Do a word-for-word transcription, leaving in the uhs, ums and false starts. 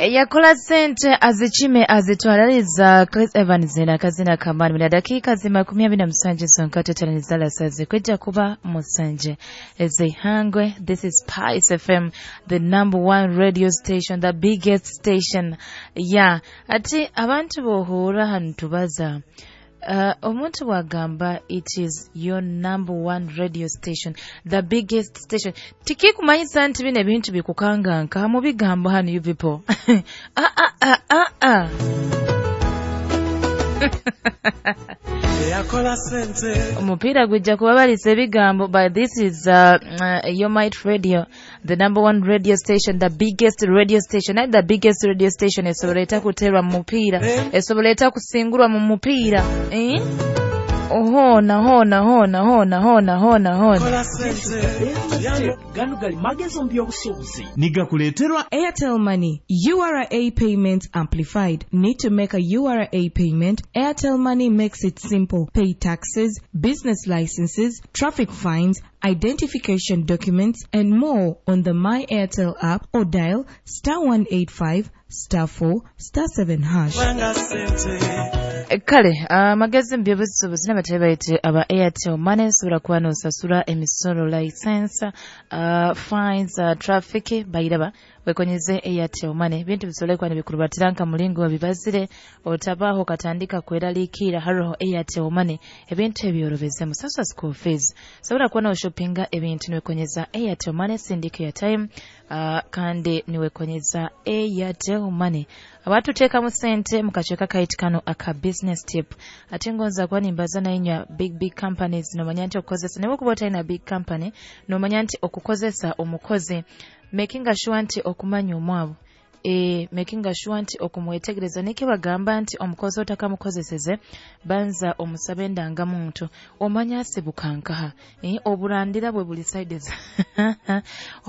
Yakola sente azikime azitwalaliza Chris Evans na kazina kamani mina dakika zima kumi abiri na musanje sonka tetanizala sazi kwijja kuba musanje ezihangwe. This is Spice F M, the number one radio station, the biggest station. Yeah, ati abantu bohura hanu tubaza. Uh, omuntu bwagamba it is your number one radio station, the biggest station, tikikumanyisa nti bino ebintu bikukanganka mu bigambo hano, you people. Ah, ah, ah, ah, ah. Eyakola sente. Omupiira gujja kubabalisa ebigambo, but this is uh, uh, your Might Radio, the number one radio station, the biggest radio station. Naye the biggest radio station esobola etakuterwa mu mupiira, esobola etakusingulwa mu mupiira, eh? Hona hona hona hona hona hona hona. Kola sente. Gano gali magezi mu by'obusuubuzi. Nigakuleeterwa Airtel Money, U R A Payments Amplified. Need to make a U R A payment? Airtel Money makes it simple. Pay taxes, business licenses, traffic fines, identification documents, and more on the My Airtel app or dial star one eight five star four star seven hash. Banga sente. Kale amagezi mu byobusuubuzi n'abatebe bayite aba Airtel Money. Osobola kuba n'osasula emisolo, license, uh, fines, uh, traffic bayiraba wekonyeze Airtel Money. Bintu bisobole kuba nibikurubatira nka mulingo bibazire otabaho katandika kweraliikirira. Haroho Airtel Money, ebintu ebyorobezemu. Sasula school fees, sobola kuba n'oshopinga ebintu niwekonyeza Airtel Money, sindika airtime, uh, kandi niwekonyeza Airtel Money. Abatuteekamu sente mu kaceeka kayiti kano aka business tip, ate ngonza kuba nimbaza nayinywa big big companies, nomanya nti okukozesa, naye okuba otalina big company, nomanya nti okukozesa omukozi, making sure nti okumanya omwavu, e, making sure nti okumwetegereza, neke bagamba nti omukozi otakamukozeseze banza omusabe endangamuntu, omanya asibuka nkaha, e, oburandira bwe buli sides.